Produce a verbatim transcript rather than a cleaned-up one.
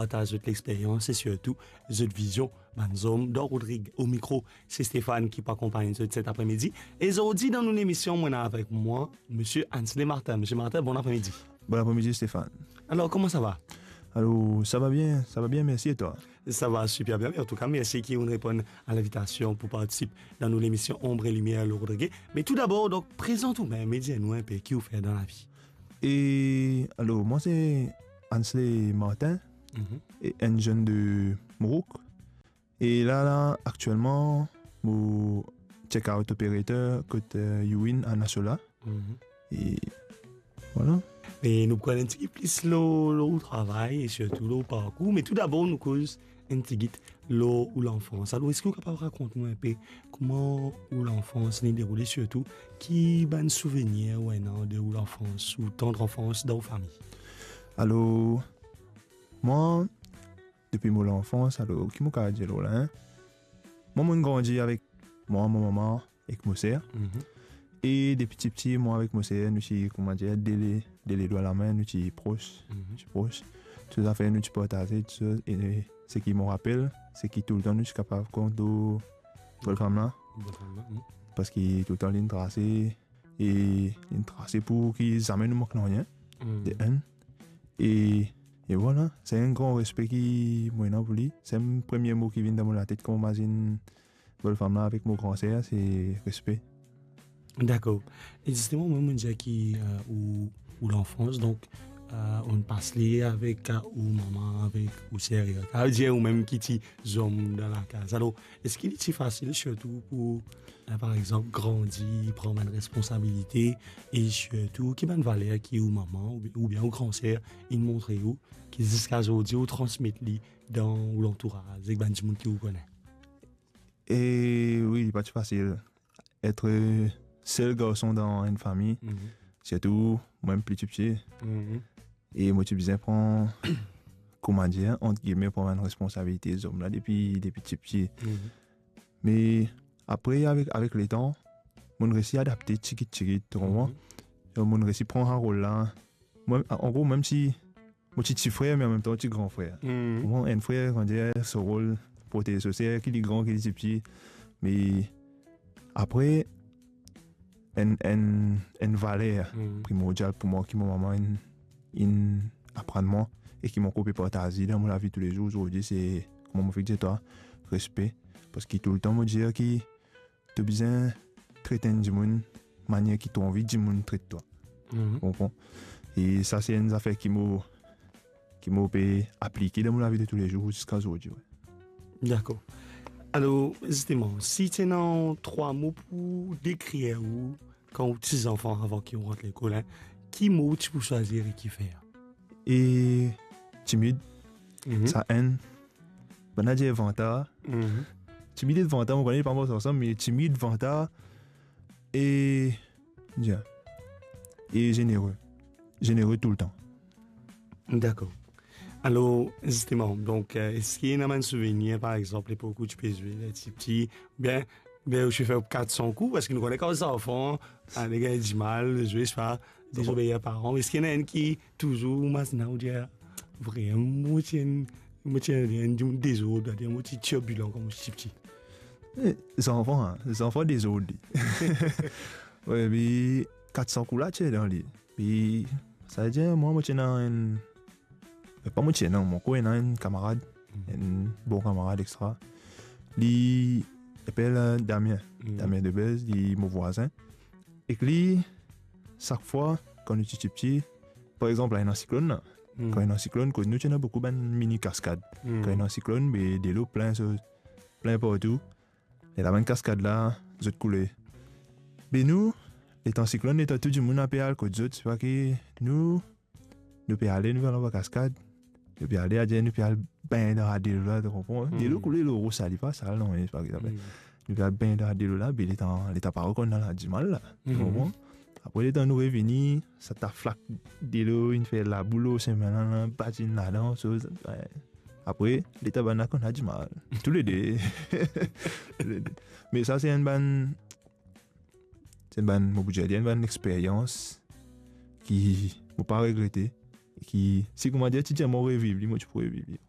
partaz zot lexperyans e sirtou zot vizion, bann zom dan Rodrig. O mikro, se Stéphane ki pou akonpagn zot set apremidi. E zordi dan nou lemision, mo ena avek mwa Misie Ansley Martin. Misie Martin, bon apremidi. Bon apremidi, Stéphane. Alor, kouma sa va? Alor, sa va bien, sa va bien, mersi, e twa? Sa va siper bien, me antouka, mersi ki ou'nn reponn a linvitasion pou partisip dan nou lemision Ombre Limier lor Rodrig. Me toudabor, donk, prezant ou mem e dir nou inpe ki ou fer dan lavi. E, alor, mwa se Ansley Martin, Mhm. e enn zenn de Mourouk. E la, la, aktielman, mo check-out operator kot, eh, Youin a Nasola. Mhm. E vwala. Me nou pou konn enn tigit plis lor, lor ou travay e sirtou lor ou parkour. Me toudabor, nou koz enn tigit lor ou lanfans. Alor, eski ou kapav rakont nou inpe kouma ou lanfans inn deroule, sirtou ki bann souvenir ou ena de ou lanfans, ou tandr anfans dan ou fami? Alor, mwa, depi mo lanfans, alor, ki mo kapav dir lor la, en? Mwa, mo'nn grandi avek mwa, mo mama ek mo ser. Mhm. E depi tipti, mwa avek mo ser, nou ti, kouma dir, de le, de le dwa lame, nou ti pros, Mhm. nou ti pros. Tou zafer nou ti partaze, tou sa, e seki mo rapel, seki toultan nou ti kapav kont lor Volfam la. Volfam la, mhm. Parski toultan li'nn trase, e li'nn trase pou ki zame nou mank nanye, Mhm. de enn. E, e vwala, se enn gran respe ki mo ena pou li. Se enn premie mo ki vinn dan mo latet kan mo mazinn Volfam la avek mo gran ser, se respe. Dakor. E zisteman, mwa, mo'nn dir ki, eh, ou, ou lanfans, donk, eh, ou'nn pas li avek, eh, ou mama, avek ou ser, eh, sa ve dir ou mem ki ti zom dan lakaz. Alor, eski li ti fasil sirtou pou, eh, par exanp, grandi, pran bann responsabilite, e sirtou ki bann valer ki ou mama oubien, oubien ou gran ser inn montre ou, ki ziska zordi ou transmet li dan ou lantouraz, ek bann dimoun ki ou kone? E wi, li pa ti fasil. Et sel garson dan enn fami, Mhm. sirtou mwa pli tipti. Mhm. E mo ti bizin pran, kouma dir, ant gilme, pran bann responsabilite zom la depi, depi tipti. Mhm. Me apre, avek, avek letan, mo'nn resi adapte tigit tigit, to konpran? Mhm. Donk, mo'nn resi pran sa rol la. Mwa, an gro, mem si mo ti ti frer, me anmemtan ti gran frer. Mhm. Pou mwa, enn frer, kan dir, so rol, protez so ser, ki li gran, ki li ti piti. Me apre, enn, enn, enn valer Mhm. primordial pou mwa, ki mo mama inn, inn aprann mwa, e ki mo ankor pe partaz dan mo lavi toulezour zordi, se, kouma mo fek dir twa, respe. Parski toultan mo dir ki to bizin tret enn dimoun manier ki to anvi dimoun tret twa. Mhm. Konpran? E sa, se enn zafer ki mo, ki mo pe aplike dan mo lavi de toulezour ziska zordi, wi. Dakor. Alor, zisteman, si ti ena trwa mo pou dekrir ou kan ou ti zanfan, avan ki ou rant lekol, en, ki mo ou ti pou swazir e kifer? E timid, Mhm. sa enn. Bann la dir vantar. Mhm. Timid ek vantar, mo kone li pa mars ansam, me timid, vantar e, bien, e zenere. Zenere toultan. Dakor. Alor, zisteman, donk, eh, eski ena bann souvenir, par exanp, lepok ou ti pe zwe, ler ti piti, oubien, oubien ou ti fer kat san kou, parski nou kone kan zanfan, ale gagn dimal, zwe, swa dezobeir paran. Eski ena enn ki touzour ou mazinn ou dir, "Vremem, mo ti enn, mo ti enn, enn dimoun dezord, mo ti tirbilan kan mo ti piti"? Eh, zanfan, en, zanfan dezord li. Wi, me kat san kou la ti dan li. Pi, sa ve dir, mwa, mo ti ena enn, me pa mo ti ena, mo ankor ena enn kamarad, Mm. enn bon kamarad, etsetera. Li apel, eh, Damien. Mm. Damien Debez, li mo vwazin. Ek li, sak fwa, kan nou ti, ti piti, par exanp, la ena siklonn la. Mm. Kan ena siklonn, kot nou ti ena boukou bann mini kaskad. Mm. Kan ena siklonn, be delo plin, so, plin partou. E la bann kaskad la, zot koule. Be nou, letan siklonn, letan tou dimoun ape al kot zot, se pa ki nou, nou pe ale, nou pe al anba kaskad, nou pe ale, adir nou pe al bengn dan delo la, to konpran? Mm. Delo koule lor ou, sa li pa sal, non, me se pa ki sa. Mm. Nou pe al bengn dan delo la, be letan, letan pa rekonn la, dimal la, to Mhm. konpran? Apre, letan nou revini, sa ta flak delo, inn fer labou lor semin la, la, bat inn ladan, so, wi. Apre, letan bann la konn la dimal. Toulede. Toulede. Me sa, se enn bann, se enn bann, mo pou dir, enn bann experyans ki mo pa regrete. ki, si kouma dir, ti dir mo reviv li, mo ti pou reviv li.